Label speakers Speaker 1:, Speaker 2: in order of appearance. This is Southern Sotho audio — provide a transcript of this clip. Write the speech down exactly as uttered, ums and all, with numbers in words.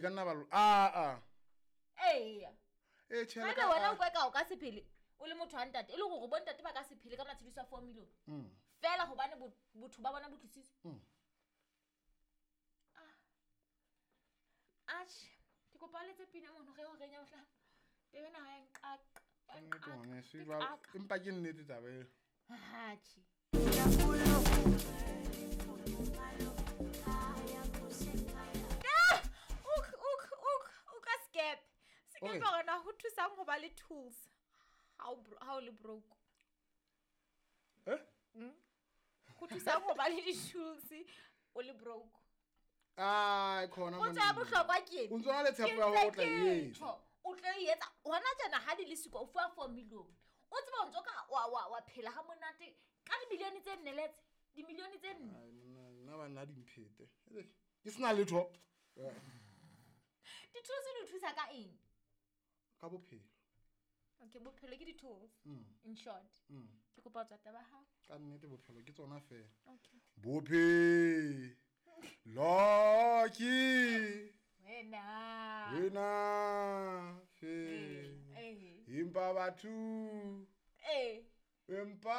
Speaker 1: ka nna ba a a
Speaker 2: Eya.
Speaker 1: E tjhe
Speaker 2: Haebe
Speaker 1: ka-
Speaker 2: wena o kweka o ka se phele o le motho wa ntate, e le hore bo ntate ba ka se phele ka matshediso a four million fela hobane bo- botho ba bona bo tlositswe. Ah. Atjhe, ke kopa o letse pina mono ge o renya mohlang. Tebe naha ya nqaqa. Ya
Speaker 1: Ka nnete
Speaker 2: nqaqa,
Speaker 1: ngwaneso,
Speaker 2: ke
Speaker 1: jwale-
Speaker 2: qaka.
Speaker 1: Empa ke nnete taba eo.
Speaker 2: Atjhe. Ah! Uk, uk, uk, o ka skepe. Skepe
Speaker 1: Ore.
Speaker 2: hore na ho thusang ho ba le tools ha o bro- ha o le broke.
Speaker 1: Eh?
Speaker 2: Ho thusang ho ba le di-tools o le broke.
Speaker 1: Ai, khona
Speaker 2: Potso ya
Speaker 1: monna.
Speaker 2: bohlokwa ke ena.
Speaker 1: O ntso na le tshepo ya hore o tla e etsa.
Speaker 2: O tlo e etsa hona tjena ha di le siko o fuwa four million. O tseba o ntso ka wa wa wa phela ha monate ka dimilione tse nne letse. Dimilione tse nne.
Speaker 1: Ai, monna, nna banna di mphete. Ke sena letho. Eh,
Speaker 2: Di-tools di o thusa ka eng?
Speaker 1: Ka bophelo.
Speaker 2: Okay, bophelo ke di-tools.
Speaker 1: Mm.
Speaker 2: In short.
Speaker 1: Mm.
Speaker 2: Ke kopa ho tswa taba ya hao.
Speaker 1: Ka nnete bophelo ke tsona fela.
Speaker 2: Okay.
Speaker 1: Bophelo ke
Speaker 2: Wena.
Speaker 1: wena fela.
Speaker 2: Eh.
Speaker 1: Empa batho
Speaker 2: Eh.
Speaker 1: empa